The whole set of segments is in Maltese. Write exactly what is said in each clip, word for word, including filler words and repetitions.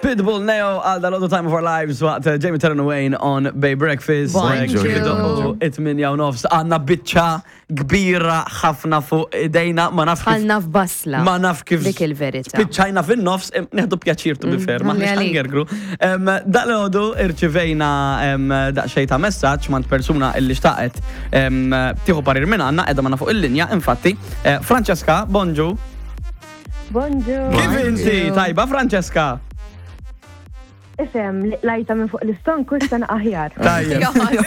Pitbull Neo għal dal Time of Our Lives waqt eh, Jamie Terran Wayne on Bay Breakfast. Bonġu. It-tmienja u nofs għandna biċċa kbira ħafna fuq idejna, ma naf kif. Għalna f'basla. Ma naf kif. Dik il-verità. Spiċċajna fin-nofs, em, nieħdu pjaċir, to be fair, ma ħalli nix għalik. ħangergru. Em, Dal-għodu irċivejna em, daqsxejn ta' messaġġ mingħand persuna illi xtaqet em, tieħu parir minn għandna, qiegħda magħna fuq il-linja, infatti. Eh, Francesca, bonġu. Bonġu. Kif inti? Tajba, Francesca? Ifhem, lajta minn fuq l-istonku, issa aħjar. Tajjeb.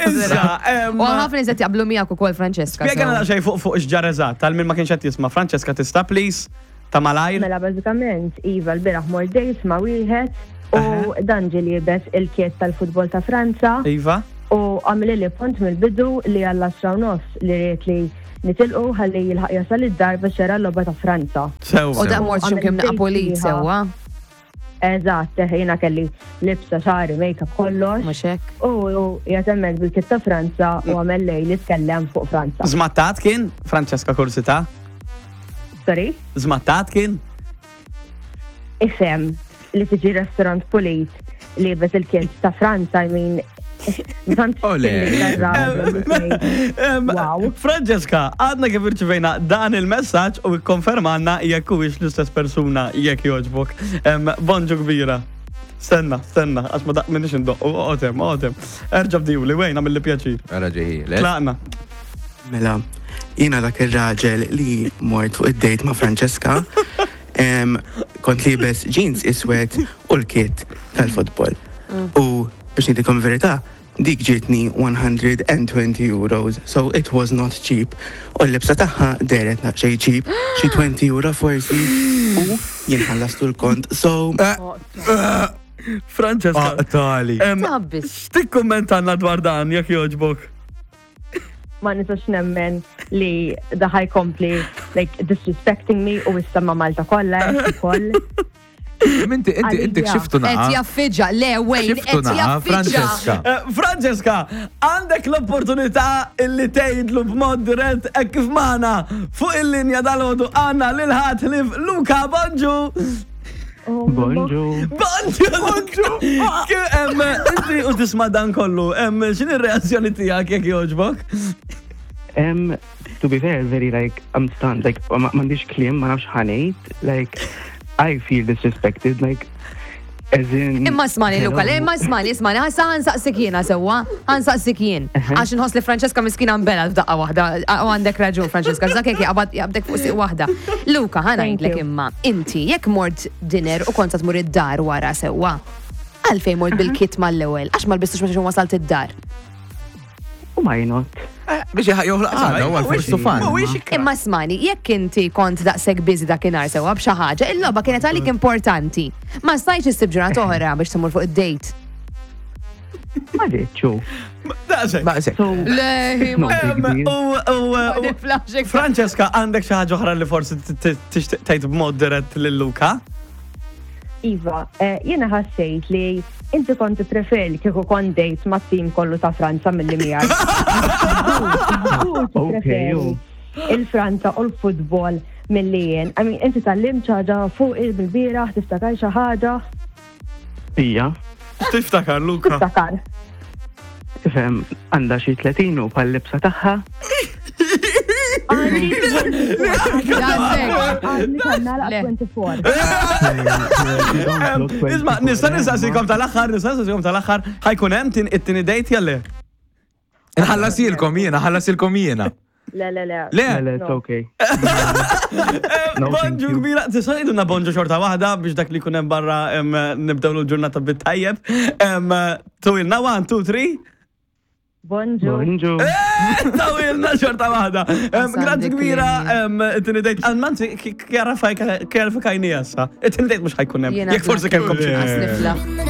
Issa, em, U ħafna nies qed jaqblu miegħek ukoll, Francesca. Spjegana so. daqsxejn fuq fuq x'ġara eżatt, tal min ma kienx qed jisma'. Francesca, tista' please ta' malajr? Mela, bażikament, iva, l-bieraħ mort date ma' wieħed u dan ġie liebes il-kit tal-futbol ta' Franza Iva? u għamilli li punt mill-bidu li għall-għaxra u nofs li ried li nitilqu ħalli jilħaq jasal id-dar biex jara l-logħba ta' Franza. Sew. U da mort x'imkien Għamil pulit date sewwa. Eżatt, jiena kelli libsa, xagħri, make-up, kollox. Mhux hekk. U u jatemmek bil-kit ta' Franza u għamel lej li tkellem fuq Franza. Żmattat kien, Francesca, kursità? Sorry? Żmattat kien? Ifhem, li tiġi restaurant pulit liebes il-kit ta' Franza, I mean, tant Ole. Em, Wow. Francesca, għadna kif irċivejna dan il-messaġġ u ikkonfermanna jekk huwiex l-istess persuna, jekk jogħġbok. Em, Bonġu kbira. Stenna, stenna, għax ma daq minix indoq. Otem, otem. Erġa' bdewli, wejna mill pjaċir. Għara ġeħi, le? Tlaqna. Mela, jiena dak ir-raġel li mort fuq id-date ma' Francesca, em, kont liebes jeans iswed u l-kit tal-futbol. U biex ngħidilkom verità, dik ġietni mija u għoxrin euros, so it was not cheap. U l-libsa tagħha dehret naqxej cheap, xi għoxrin euro forsi, u jien ħallastu l-kont, so Francesca. Tali. em, Tabbis. X'tikkummentanna dwar dan, jekk jogħġbok? Ma nistax nemmen li da ħa jkompli like disrespecting me u issa ma' Malta kollha ukoll. Inti, inti, inti Għalija. xiftu Qed naqa. jaffiġġa, le wejn, Xiftu qed naqa, jaffiġġa. Francesca. Eh, Francesca, għandek l-opportunità illi tgħidlu b'mod dirett hekk kif magħna fuq il-linja dal-għodu għandna lil ħadd ħlief Luka. Bonġu! Bonġu. Bonġu, Bonġu! Em, Inti u tisma' dan kollu, em, x'inhi r-reazzjoni tiegħek, jekk jogħġbok? Um, to be fair, very like, I'm stunned. Like, ma m'għandix kliem, ma nafx ħa ngħid. Like, I feel disrespected. Like, as in. Imma smani, Luka, le, Hello. imma smani, smani, ħassa ħa nsaqsik jiena sewwa, ħa nsaqsik jien. Għax nħoss li Francesca miskina nbelgħet f'daqqa waħda, u għandek raġun, Francesca, zakek jaqbad jaqbdek fuq siq waħda. Luka, ħa ngħidlek you. imma, inti, jekk mort dinner u kont sa tmur id-dar wara sewwa, għalfejn mort bil-kit mal-ewwel, għax ma lbistux meta wasalt id-dar? Why not? Biex joħloq għada, u għal-forsu fan. Imma smani, jekk inti kont daqshekk busy dakinhar sewwa b'xi ħaġa, il-logħba kienet għalik importanti. Ma stajtx issib ġurnata oħra biex tmur fuq id-date? Ma rridxu. Daqshekk. Baqsek. So, Le, no big deal. U, u, u, Francesca, għandek xi ħaġa oħra li forsi tixtieq tgħid b'mod dirett lil Luka? Iva, eh, jiena ħassejt li inti kont preferi kieku kont date ma' tim kollu ta' Franza milli miegħek. Okay, Preferi il-Franza u l-futbol milli jien. I mean, inti tgħallimt xi ħaġa fuq il-bieraħ, tiftakar xi ħaġa? Ija, Tiftakar, Luka? Tiftakar. tifhem, għandha xi tletin u pal libsa tagħha. Għandi Għandi kannala Le. tnejn u għoxrin. Isma', nista' nistaqsikom tal-aħħar, nista' nistaqsikom tal-aħħar, ħa jkun hemm tin it-tieni date jew le? Nħallasilkom jiena, ħallasilkom jiena. Le, le, le. Le, Le, le, it's okay. No, thank Bonġu you. kbira, tista' ngħidulna bonġu xorta waħda biex dak li jkun hemm barra em, nibdew l-ġurnata bit-tajjeb. Em, Tgħidulna one, two, three. Bonġu. Bonġu. Tgħidulna xorta waħda. Em, Għasandi Grazzi kbira, kliem. em, it-tieni date. Anzi, kjarafikajni issa. It-tieni date mhux ħa jkun hemm. Jiena Jekk forsi kellkom xi. Niflaħ.